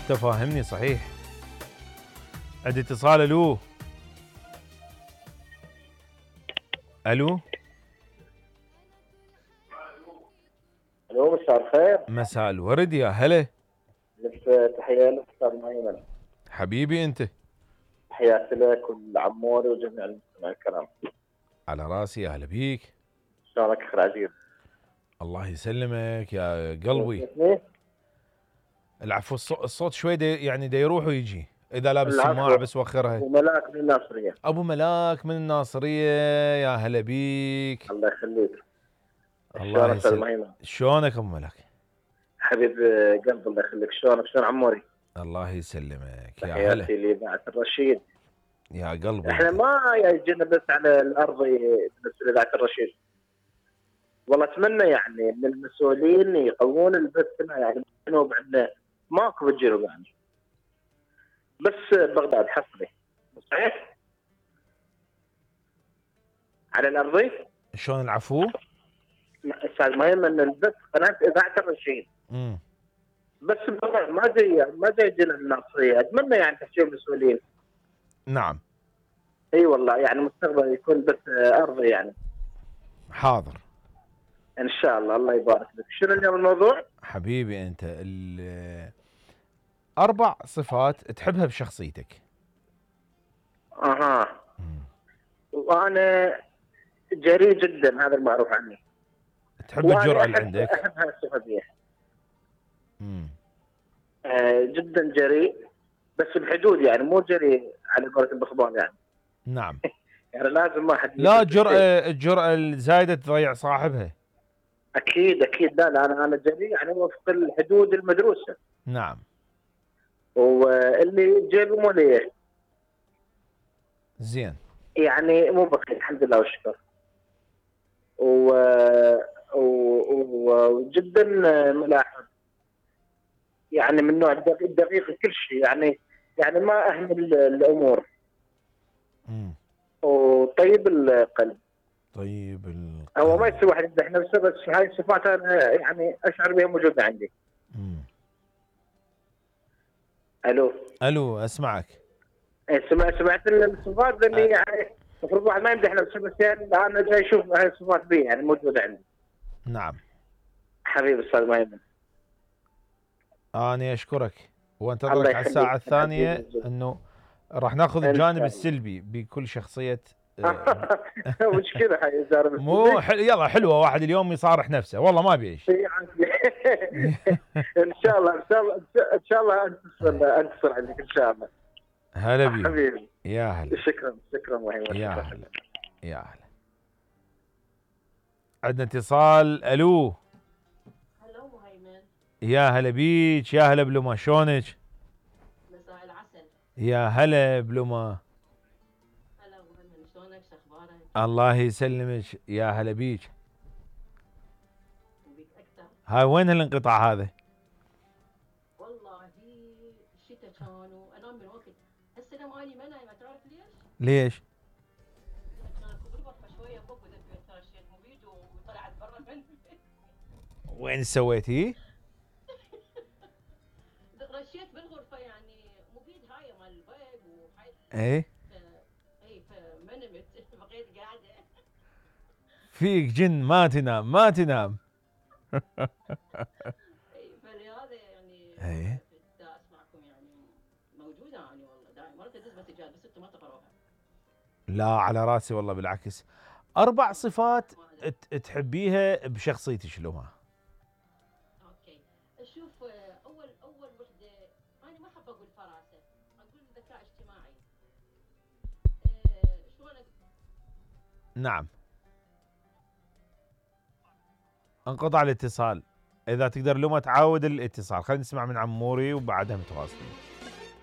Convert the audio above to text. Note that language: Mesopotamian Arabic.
انت فاهمني صحيح. عندي اتصال. الو الو الو، مساء الخير. مساء الورد يا هلا. لك تحية لك استاذ مهيمن. حبيبي انت. تحياتي لك والعموري وجميع المستمعين الكرام. على راسي، يا هلا بيك. شلونك اخي العزيز؟ الله يسلمك يا قلبي. اسمي؟ العفو. الصوت شوي يعني دا يروح ويجي اذا لابس العفو. سماعه بس وخرها. ابو ملاك من الناصرية. ابو ملاك من الناصريه، يا هلا بيك. الله يخليك. الله استاذ يسلمك. مهيمن؟ شلونك ابو ملاك؟ حبيب قلب، الله يخليك. شلونك؟ شلون عموري؟ الله يسلمك يا هلا. تحياتي لإذاعة الرشيد. يا قلبي احنا ما يجينا بس على الارض بالنسبه لإذاعة الرشيد. والله اتمنى يعني من المسؤولين يقوون البث هنا، يعني بعدنا ماكو بتجيروا يعني. بس بغداد حصري صحيح؟ على الارضي؟ شلون العفو؟ استاذ مهيمن، البث قناه اذاعه الرشيد. بس بغداد ما زي جينا الناصريه. اتمنى يعني تحكي المسؤولين. نعم. اي والله يعني مستقبل يكون بث ارضي يعني. حاضر ان شاء الله. الله يبارك لك. شنو اليوم الموضوع؟ حبيبي انت 4 صفات تحبها بشخصيتك. اها. وانا جريء جدا، هذا المعروف عني. تحب الجرأة اللي عندك. احب هالصفه دي. جدا جريء، بس بحدود يعني، مو جريء على قولة الاخبار يعني. نعم. يعني لازم ما حد. لا، الجرأة الزايدة تضيع صاحبها. اكيد اكيد. لا انا جريء يعني وفق الحدود المدروسه. نعم. واللي جيبه مو ليه. زين. يعني مو بخيل، الحمد لله والشكر. وجدا ملاحظ، يعني من نوع الدقيق كل شيء يعني ما اهمل الامور. وطيب القلب. طيب القلب. هو ما يصير واحد يمدح نفسه، بس هاي الصفات انا يعني اشعر بها موجوده عندي. الو اسمعك. سمعت الصفات اللي يعني المفروض واحد ما يمدح نفسه، بس يعني انا جاي اشوف هاي الصفات بي يعني موجوده عندي. نعم حبيبي استاذ مهيمن. أنا أشكرك وأنتظرك على الساعة الثانية، أنه راح ناخذ الجانب السلبي بكل شخصية. مشكلة هاي الجانب السلبي. مو يلا حلوة واحد اليوم يصارح نفسه، والله ما بيعيش. إن شاء الله إن شاء الله أنتصر عندك إن شاء الله. هلا بيك حبيبي. يا هلا. شكرا مهيمن. يا هلا يا هلا. عندنا اتصال. ألو. يا هلا بيك. يا هلا بلوما. شلونك؟ مساء العسل. يا هلا بلوما. هلا مهيمن، شلونك؟ شخبارك؟ الله يسلمك. يا هلا بيك. وبيك اكثر. هاي وين هالانقطاع هذا؟ والله الشتاء كان وانام من وقت. هسه اني ما نايمه، تعرف ليش؟ ليش؟ كان بالغرفه شويه فوق وذبيت رشيت مبيد وطلعت برا من وين سويتي؟ رشيت بالغرفه يعني مبيد هاي مال البيض وهاي. ايه فما نمت، بقيت قاعده. فيك جن ما تنام ما تنام. فلهذا يعني ايه اسمعكم يعني موجوده يعني والله دائما مرات ادز بس انتم ما تقروها. لا على راسي والله بالعكس. 4 صفات تحبيها بشخصيتك شلونها؟ اوكي. شوف، اول وحده انا ما احب اقول فراسه، اقول ذكاء اجتماعي. شلون نعم. انقطع الاتصال. اذا تقدر لما تعاود الاتصال، خلينا نسمع من عموري وبعدها متواصلين.